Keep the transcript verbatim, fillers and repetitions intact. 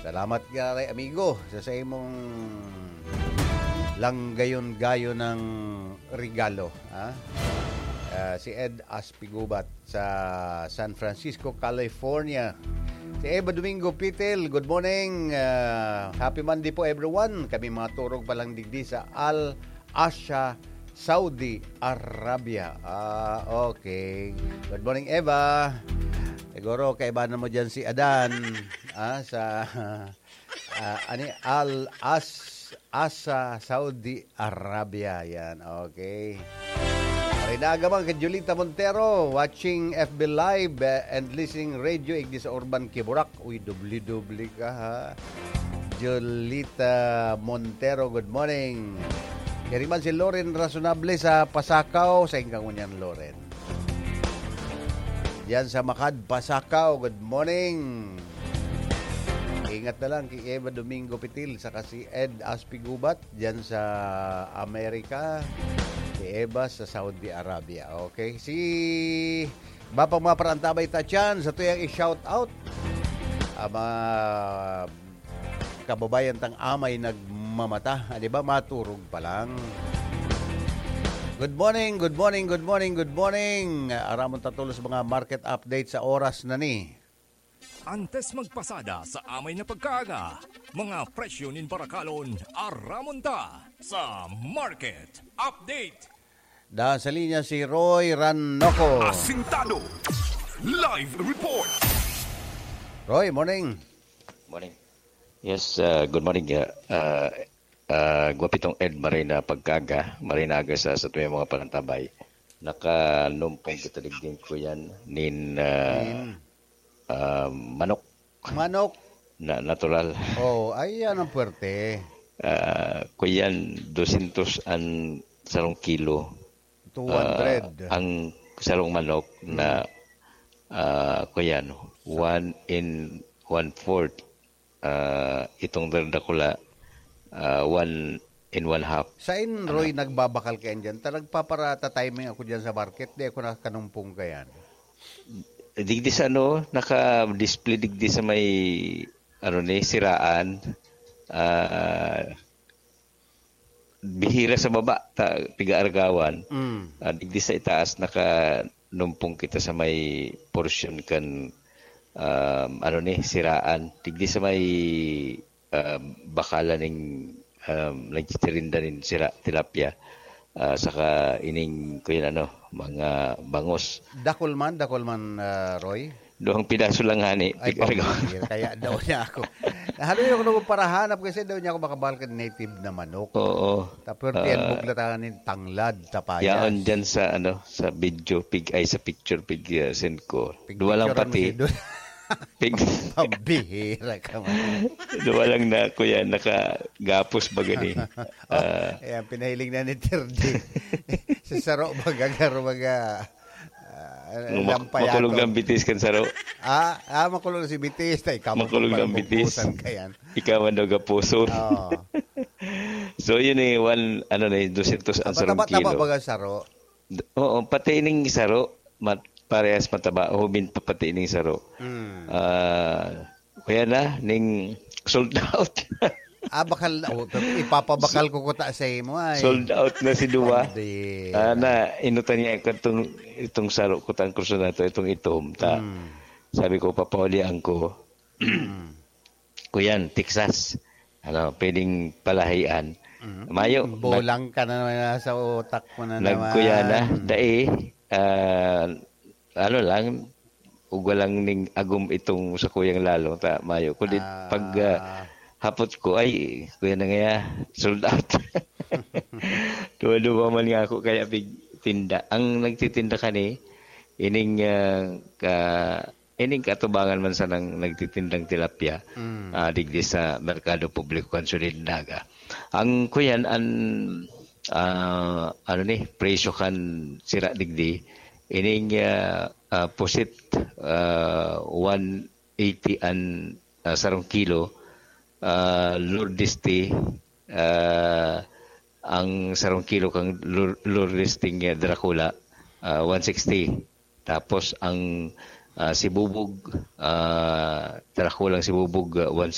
Salamat, gare amigo, sa saimong langgayon-gayon ng regalo, ha? Ah, si Ed Aspigubat sa San Francisco, California. Si Eva Domingo Pitil, good morning. Ah, happy Monday po, everyone. Kami mga turog pa lang digdi sa Al Asha, Saudi Arabia. Ah, okay. Good morning, Eva. Siguro kaibahan mo dyan si Adan, ah, sa, ah, ani, Al As-, Asa, Saudi Arabia. Yan, okay. Marinaga man kay Julita Montero, watching F B Live, eh, and listening radio, igdi sa Urban Kiburak. Uy, doble-doble ka, ha? Julita Montero, good morning. Kaya man si Loren Rasonable sa Pasakaw, sa Ingkang Unyan, Loren. Diyan sa Makad, Pasakaw, good morning. Ingat na lang kay Eva Domingo Pitil, saka si Ed Aspigubat, diyan sa Amerika. Si Eva sa Saudi Arabia. Okay, si Bapang mga parantabay ta dyan, sa tuyang i-shout out. Ah, mga kababayan tang amay nagmamata, ah, di ba, maturog pa lang. Good morning, good morning, good morning, good morning. Aramon ta tolos mga market update sa oras na ni. Antes magpasada sa amay na pagkaaga, mga presyo nin barakalon, aramon ta sa market update. Da sa linya si Roy Ranoco. Asintado. Live report. Roy, morning. Morning. Yes, uh, good morning. Uh, uh, uh, Guwapitong Ed, maray na pagkaga, maray na aga sa, sa tuwing mga panantabay. Nakanumpong kita digding ko yan, nin uh, uh, manok. Manok. Na natural. Oh, ay yan ang puwerte. Uh, kuyan, dosyentos an sarong kilo. Two hundred. Uh, ang sarong manok na uh, kuyan, one in one fourth. Uh, itong dakula, uh, one in one half. Sain, Roy, ano? Nagbabakal kayan dyan? Ta nagpaparata timing ako dyan sa market. Di ako nakakanumpong kayan. Digdi sa ano, naka-display digdi sa may ano ni, siraan. Ah, bihira sa baba, ta, pigaargawan. Mm. Ah, digdi sa itaas, nakanumpong kita sa may portion kan, um, ano ni, siraan. Digdi sa may, um, bakalan ning, um, nagtitirinda nin sira, tilapia. Ah, saka ining, kuyan ano, mga bangos. Dakul man, dakul man, ah, Roy? Duhang pidaso lang, hani. Ay, Pikarga. Pambihira. Kaya daw niya ako. Haloy ako nung parahanap kasi daw niya ako makabahal ka native na manok. Oo. Tapos Ah. tiyan bugla tayo ni tanglad, tapayas. Yaon dyan sa, ano, sa video, pig, ay, sa picture, pig, uh, send ko. Duwa lang Picturean mo pati. si Dul-, Pig, Pambihira ka man. duwa lang na, kuya, nakagapos ba gani? Ah, Ayan, pinahiling na ni Terdi. Si Saro, magagar, maga, ah, mak- lampayato. Makulog ng bitis kan saro. Ah, ah, makulog na si Bitis. Tay, ikaw Makulog ng bitis. Pagpagpusan ka yan. Ikaw ang nagapuso. Oo. So, yun eh, one, ano na, dosyentos ang sarong Tapa-tapa, kilo. Baga saro. Oo, pati ning saro, mat, parehas mataba, hubin pa pati ning saro. Mm. Ah, kaya na, ning sold out. Ah, bakal, oh, ipapabakal ko kuta sa imo ay. Sold out na si Dua. Pambihira. Ah, na, inutan niya itong, itong saro ko, tang kurso na to, itong itom. Ta, Mm. Sabi ko, papaulian ko. Mm. Kuyan, Texas. Ano, pwedeng palahian. Mm. Mayo, Bolang ka na naman, nasa utak mo na nagkuya na. naman. Dai, ah, ano lang, ugwa lang ning agom itong sa kuyang lalo. Ta, mayo. Kundi Ah. pag ah, hapot ko, ay, kuya na nga, sold out. Duwa-duwa man nga ako, kaya pig tinda. Ang nagtitinda kani, ining ah, ka, ining katubangan man sanang nagtitindang tilapia, Mm. ah, digdi sa Merkado Publiko kan Syudad nin Naga. Ang kuyan, an, ah, ano ni, presyo kan sira digdi, ining ah, ah, pusit, ah, one eighty an ah, sarong kilo, ah, Lourdes tea, ah, ang sarong kilo kan Lour-, Lourdes tea nga Dracula, ah, one sixty. Tapos ang ah, sibubog, ah, Dracula ang sibubog, ah,